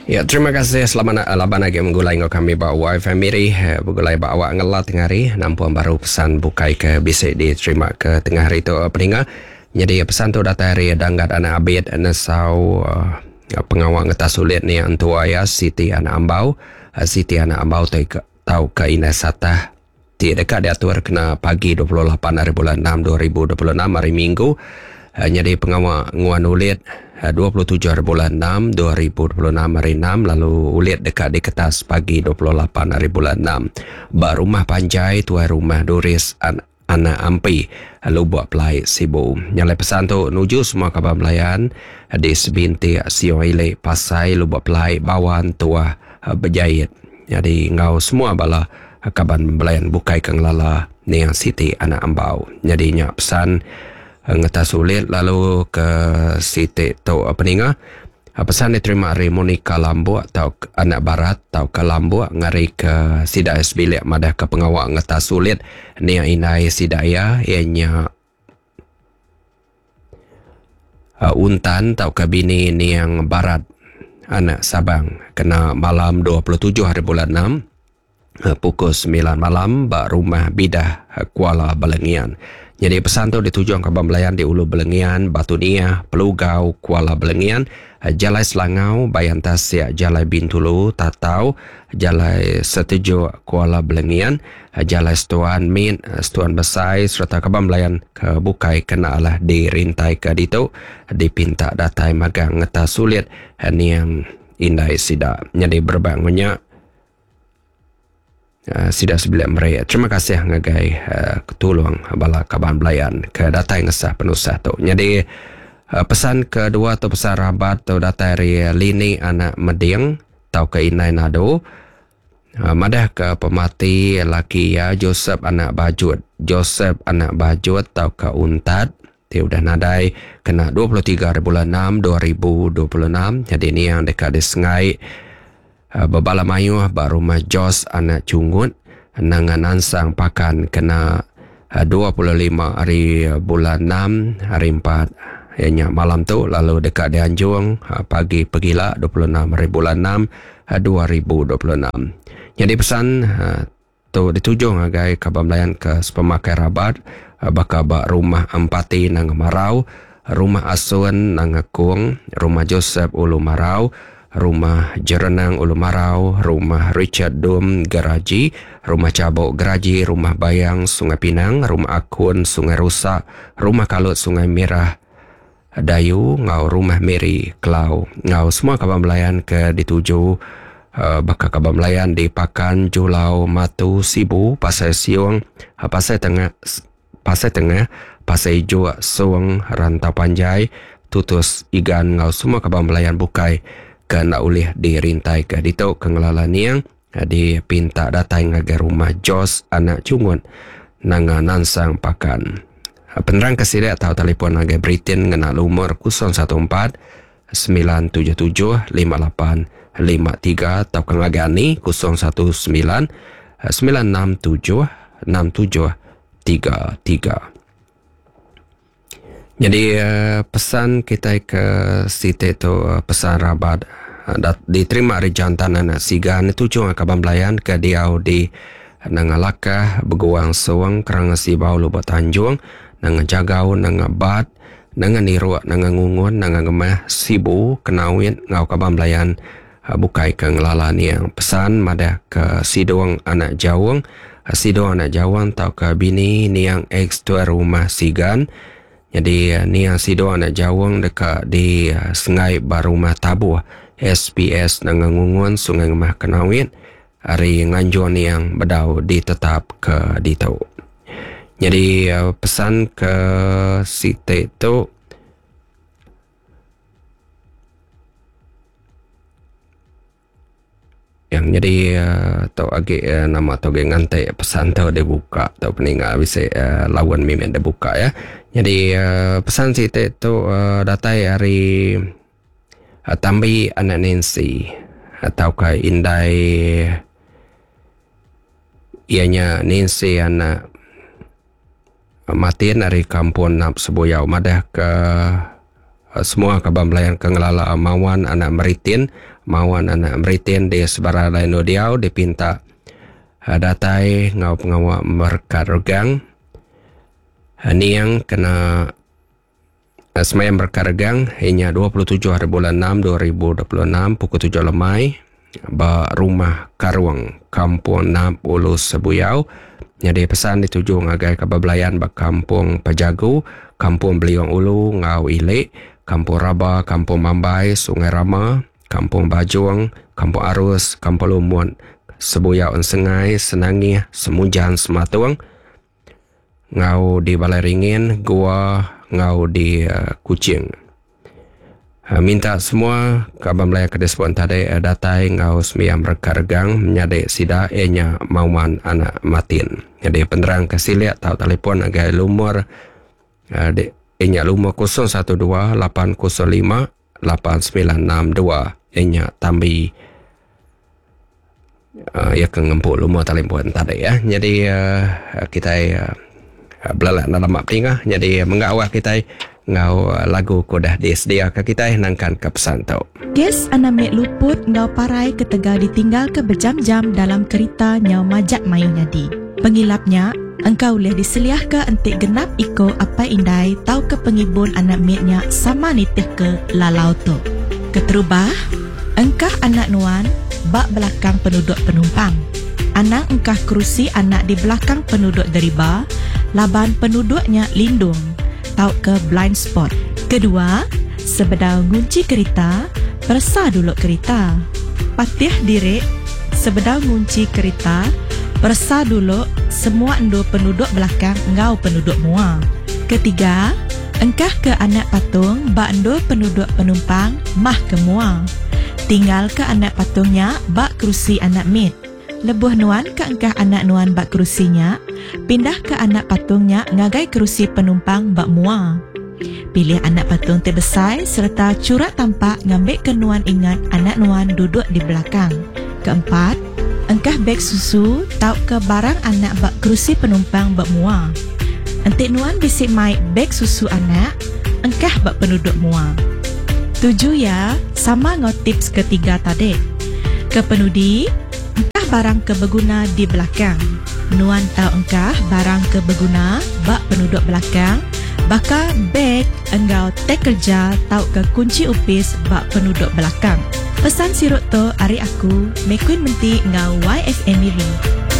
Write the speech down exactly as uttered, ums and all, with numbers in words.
Ya, terima kasih selamat laban lagi menggulai ngau kami ba Y Family begulai ba awak ngelat tengah hari nampung baru pesan bukai ke bisa diterima ke tengah hari tu peninga. Jadi pesan tu datang dari Danggat Anak Abid nesau uh, pengawal ngetas sulit ni entua ya Siti Anak Ambau. Siti Anak Ambau tu tau ke Ina Satah ti dekat diatur kena pagi dua puluh lapan hari bulan enam dua ribu dua puluh enam hari Minggu. Jadi pengawal nguan ulit dua puluh tujuh hari bulan enam dua ribu dua puluh enam hari enam, lalu ulit dekat di kertas pagi dua puluh lapan hari bulan enam. Ba rumah panjai tuai rumah Doris An Anak Ampi Lubuk Pelai Sibu. Nyalai pesan tu nuju semua kaban belayan di Sebintik Siong Ilik Pasai Lubuk Pelai Bawan Tuah Berjait. Jadi ngau semua bala kaban belayan bukai ke ngelala Niang Siti Anak Ambau. Jadi nya pesan ngetas sulit lalu ke Siti tu peninga. Pesan diterima dari Monica Lambuk atau Anak Barat atau ke Lambuk ngari ke sida sebilik madah ke pengawak ngetas sulit Niang Inai sida ya ianya uh, Untan atau ke bini Niang Barat Anak Sabang kena malam dua puluh tujuh hari bulan enam pukul sembilan malam ba rumah Bidah Kuala Balengian. Jadi pesan tu dituju ke Abang Belayan di Ulu Balengian, Batu Niah, Pelugau, Kuala Balengian, Jalai Selangau, Bayan Tasik, Jalai Bintulu, Tatau, Jalai Setuju, Kuala Balengian, Jalai Setuan Min, Setuan Besai serta Kabang Belayan ke bukai kena lah dirintai ke ditu dipinta datai magang ngetas sulit niang indai sida. Jadi berbang banyak Uh, sida sebilik mereka. Terima kasih ngagai uh, ketulung bala kaban belayan ke datai ngesah penusah tu. Jadi uh, pesan kedua tu pesan rabat tu datai dari Lini Anak Meding tau ke Inai Nado. Uh, madah ke pemati laki ya Joseph Anak Bajut. Joseph Anak Bajut tau ke Untat ti udah nadai kena dua puluh tiga hari bulan enam dua ribu dua puluh enam. Jadi ni yang dekat di Sengai bebala mayuh ba rumah Jos Anak Cungut nangan ansang pakan kena dua puluh lima hari bulan enam hari empat ianya malam tu, lalu dekat dianjung pagi pegila dua puluh enam hari bulan enam dua ribu dua puluh enam. Jadi pesan tu dituju ngagai kaban belayan ke sepemakai rabat baka ba rumah Empati nang Marau, rumah Asun nang Kung, rumah Joseph Ulu Marau, rumah Jerenang Ulu Marau, rumah Richard Dum Geraji, rumah Cabok Geraji, rumah Bayang Sungai Pinang, rumah Akun Sungai Rusak, rumah Kalut Sungai Merah Dayu, ngau rumah Mary Kelau. Ngau semua kaban belayan ke dituju uh, bakal kaban belayan di Pakan, Julau, Matu, Sibu, Pasai Siung, Pasai Tengah, Pasai Tengah, Pasai Ijo, Suang, Rantau Panjai, Tutus, Igan, ngau semua kaban belayan bukai ke nak ulih dirintai ke ditu ke ngelala niang dipinta datai ngagai rumah Jos Anak Cungut nanga Nansang Pakan. Penerang ke sidak atau telefon ngagai Britain ngena lumur kosong satu empat sembilan tujuh tujuh lima lapan lima tiga atau ke ngagai ani kosong satu sembilan sembilan enam tujuh enam tujuh tiga tiga. Jadi pesan kita ke Siti tu pesan rabat diterima dari jantan anak Sigan tujuh kaban belayan ke diau di Nangalakah, Beguang Suang, Keranga Sibau, Lubuk Tanjung, Nanga Jagau, Nanga Bat, Nanga Niruk, Nanga Ngungun, Nanga Ngemah, Sibu, Kenawit, ngau kaban belayan bukai ke ngelala niang. Pesan madah ke Sidong Anak Jawung, Sidong Anak Jawung tau ke bini niang ex tuan rumah Sigan. Jadi niang Sidong Anak Jawung dekat di Sengai Barumah Tabuh S P S Nanga Ngungun Sungai Ngemah Kenawit hari nganjuan yang bedau ditetap ke ditu. Jadi pesan ke Siti tu yang jadi tau agi nama tau agi ngantai pesan tau dia buka tau peninggal bisa lawan mimin dia buka ya. Jadi pesan Siti tu datai hari Tambi Anak Nancy atau ke Indai ianya Nancy anak Matin dari kampung Nap Sebuyau madah ke Semua kaban belayan ke ngelala Mawan anak Meritin, Mawan anak Meritin di sebarang lain diau dipinta datai ngau pengawa merekat regang. Niang kena semayang merekat regang inya dua puluh tujuh hari bulan enam dua ribu dua puluh enam pukul tujuh lemai ba Rumah Karung, Kampung Nap, Ulu Sebuyau. Jadi pesan dituju ngagai kaban belayan ba Kampung Pajagu, Kampung Beliung Ulu ngau Ilik, Kampung Raba, Kampung Mambai, Sungai Rama, Kampung Bajung, Kampung Arus, Kampung Lumut, Sebuyau Ensengai, Senangih, Semujan, Sematung, ngau di Balai Ringin, Gua, ngau di uh, Kuching. Minta semua kaban Melayu ke disebut tadi datai ngau sembiang mereka regang menyadik sida ianya Mauman anak Matin. Jadi penerang ke silik tau telefon agai lumur uh, ianya lumur kosong satu dua lapan kosong lima lapan sembilan enam dua ianya tambi uh, ia ke ngempuk lumur telefon tadi ya. Jadi uh, kita uh, belalak dalam mak tingah. Jadi menggawah kita ngau lagu kodah disediakan kita nangkan ke pesan tau. Kes anak mek luput ngau parai ketegal ditinggal ke berjam-jam dalam kereta nyau majak mayu nyadi. Pengilapnya, engkau boleh diseliah ke entik genap iko apa indai tau ke pengibun anak meknya sama nitih ke lalau tu. Keterubah, engkah anak nuan bak belakang penduduk penumpang. Anak engkah kerusi anak di belakang penduduk deriba, laban penduduknya lindung tau ke blind spot. Kedua, sebedau ngunci kereta, persa dulu kereta. Patih direk, sebedau ngunci kereta, persa dulu semua endu penduduk belakang ngau penduduk mua. Ketiga, engkah ke anak patung ba endu penduduk penumpang mah ke mua. Tinggal ke anak patungnya ba kerusi anak mit. Lebuh nuan ke engkah anak nuan bak kerusinya, pindah ke anak patungnya ngagai kerusi penumpang bak mua. Pilih anak patung terbesar serta curat tampak ngambil ke nuan ingat anak nuan duduk di belakang. Keempat, engkah beg susu tau ke barang anak bak kerusi penumpang bak mua. Entik nuan bisik mai beg susu anak, engkah bak penduduk mua. Tujuh ya, sama ngau tips ketiga tadi. Kepenudi, engkah barang ke berguna di belakang. Nuan tau engkah barang ke berguna bak penduduk belakang, baka beg enggau tek kerja tau ke kunci upis bak penduduk belakang. Pesan sirut tu ari aku, Mekuin Menti ngau Y F M Miri.